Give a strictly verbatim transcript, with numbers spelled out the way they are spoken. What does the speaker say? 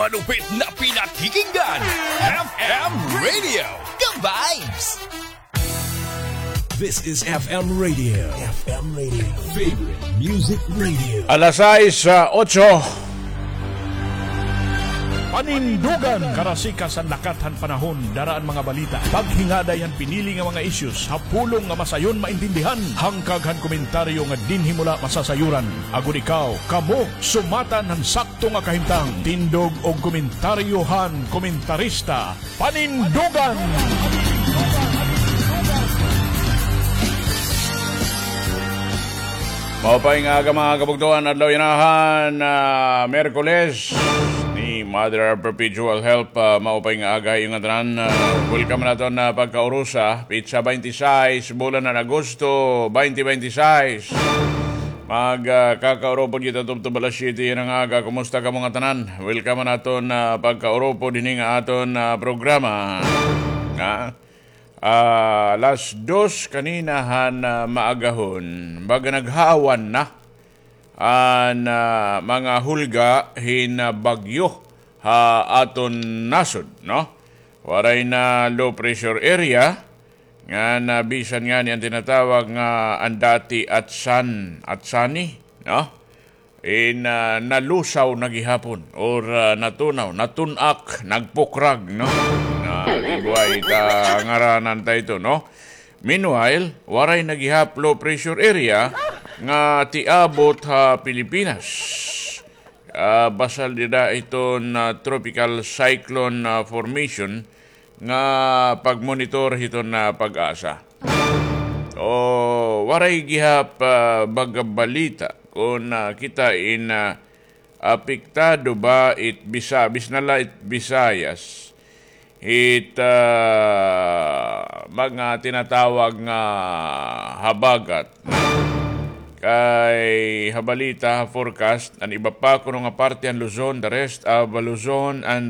Malupit na pinakikinggan, F M Radio, ka-vibes! This is F M Radio. F M Radio. Favorite Music Radio. Alas sais, ah, otso. Panindugan, karasikas han lakat han panahon, dara an mga balita. Paghingaday han pinili nga mga issues, ha pulong nga masayon maintindihan. Hangkag han komentaryo nga dinhi mo la masasayuran. Agod ikaw, kamo, sumatan han sakto nga kahimtang. Tindog og komentaryo han komentarista. Panindugan! Maupay nga aga, mga kabugtoan, adlaw yana han, ah, Miyerkules ni Mother Perpetual Help. Ah, maupay nga aga ha iyo ngatanan. Ah, welcome naton, ah, pagkaurusa, petsa twenty-six, bulan han Agosto, twenty twenty-six. Mag, ah, kakaurupod kita tubtob alas siyete yana nga aga. Kumusta kamo ngatanan? Welcome han aton, ah, pagkaurupod hini nga aton, ah, programa. Ha? Ah, alas dos kanina han, ah, maagahon. Baga naghawan na an, ah, mga hulga hin, ah, bagyo ha aton nasod, no? Waray na low pressure area, nga na bisan ngani an tinatawag nga an dati Atsan, Atsani, no? In, ah, nalusaw na gihapon or, ah, natunaw, natun-ak, nagpukrag, no? Na, igwa ita ngaranan ta ito, no? Meanwhile, waray na gihap low pressure area nga tiabot ha Pilipinas. Ah, basal dida iton, ah, tropical cyclone, ah, formation nga pagmonitor hiton, ah, PAGASA. O, waray gihap, ah, baga balita kon, ah, kita in, ah, apektado ba it Bisa-, bisan na la it Visayas, it, ah, mga tinatawag nga habagat. Kay ha balita, ha forecast, an iba pa kuno nga parte han Luzon, the rest of Luzon and